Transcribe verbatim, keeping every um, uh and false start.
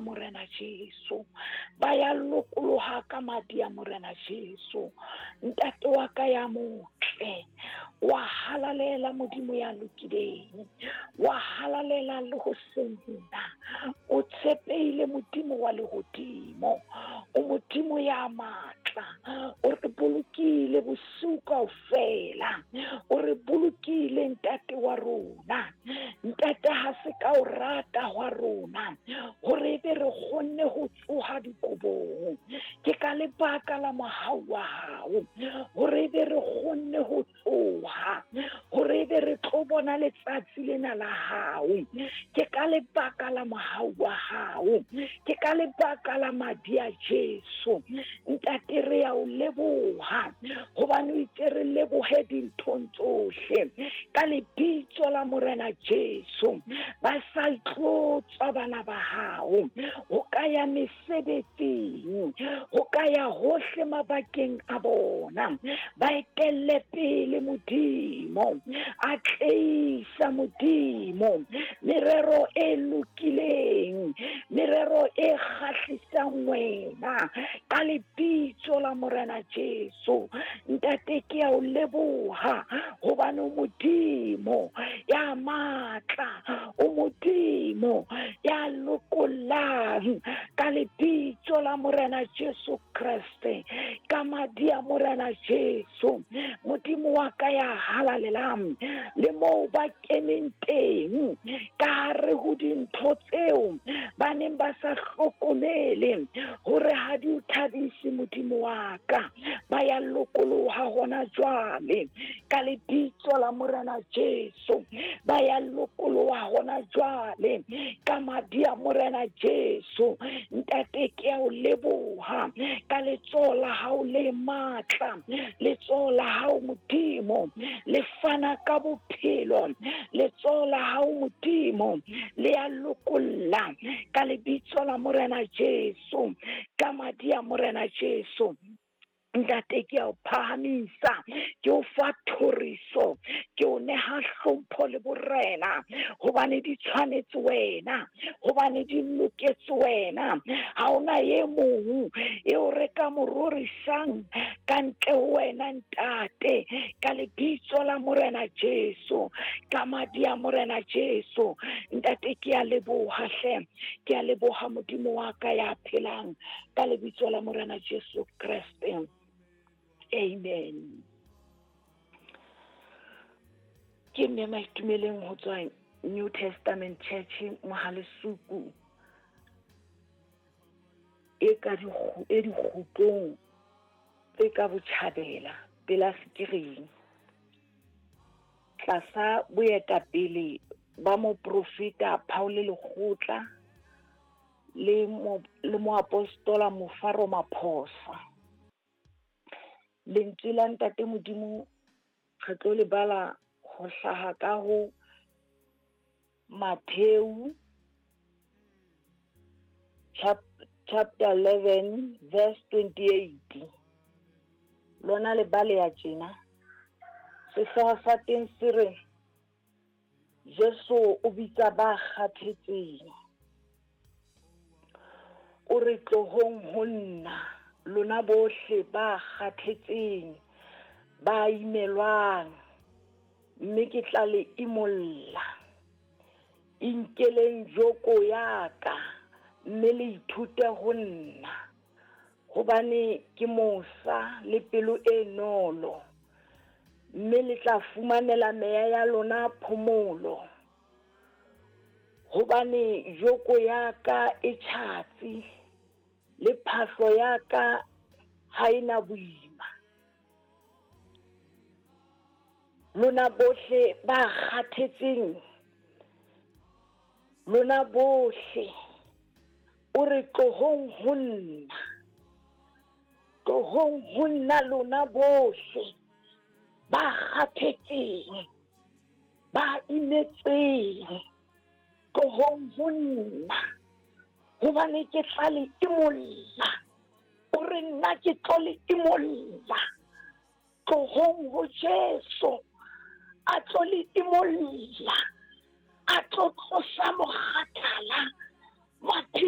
Morena Jesu. Ba ya lokoloha ka madi a Morena Jesu. Ntate wa ka ya motle, wa halalela Modimo ya lokileng, wa halalela le ho senna. O tshepehile Modimo wa lehodimo, o Modimo ya matla, o re bolokile bosiu kaofela, o re bolokile ntate wa rona. Ntate ha se ka o rata hwa rona hore ebe re kgonne ho tsoha dikobong, ke ka lebaka la mohau wa hao hore ebe re kgonne ho tsoha, hore ebe re tlo bona letsatsi lena la hao, ke ka lebaka la mohau wa hao, ke ka lebaka la madi a Jesu. Ntate re ya o leboha hobane o itse re lebohe dinthong tsohle ka lebitso la Morena Jesu. Ba sa tlotswa bana ba hao ho ka ya mesebetsing, ho ka ya hohle mabakeng a bona, ba etelle pele Modimo, a tleisa Modimo merero e lokileng, merero e kgahlisang wena ka lebitso la Morena Jesu. Ntate ke ya o leboha hobane o Modimo ya matla, o Modimo ya lokollang ka lebitso la Morena Jesu Kreste, ka madi a Morena Jesu. Modimo wa ka ya halalelang, le moo ba keneng teng ka hare ho dintho tseo ba neng ba sa hlokomele hore ha di o thabise Modimo wa ka, ba ya lokoloha hona jwale ka lebitso la Morena Jesu, ba ya lokoloha hona jwale ka madi a Morena Jesu. Ntate ke ya o leboha ka letsoho la hao le matla, letsoho la hao Modimo le fana ka bophelo, letsoho la hao Modimo le ya lokolla ka lebitso la Morena Jesu, ka madi a Morena Jesu. Ntate ke a o phahamisa, ke o fa thoriso, ke o neha hlompho le borena, hobane di tshwanetse wena, hobane di loketse wena. Ha hona e mong eo re ka mo rorisang ka ntle ho wena ntate, ka lebitso la Morena Jesu, ka madi a Morena Jesu. Ntate ke a leboha hle, ke a leboha Modimo wa ka ya phelang ka lebitso la Morena Jesu Kreste. Amen. Ke mme Maitumeleng ho tswa New Testament Church Mohalesuku e ka e dikgutlong tse ka botjhabela pela Sekiring, tlasa boetapele ba moprofeta Paul Lekgotla le mo le moapostola Mofaro Maphosa. Lentswe la Ntate Modimo re tlo le bala ho hlaha ka ho Matthew chapter eleven verse twenty-eight. Lona le bale ya tjena. Sehlooho sa teng se re Jesu o bitsa ba kgathetseng. O re tlohong ho nna lona bohle ba kgathetseng, ba imelwang, mme ke tla le imolla. Inkeleng joko ya ka mme le ithute ho nna, hobane ke mosa le pelo e nolo, mme le tla fumanela meya ya lona phomolo. Hobane joko ya ka e tjhatsi le phahlo ya ka ha ena boima. Lona bohle ba kgathetseng, lona bohle, o re tlohong ho nna, tlohong ho nna lona bohle ba kgathetseng, ba imetseng, tlohong ho nna, hobane ke tla le imolla. O re nna ke tlo le imolla. Tlohong ho Jesu a tlo le imolla, a tlo tlosa mokgathala.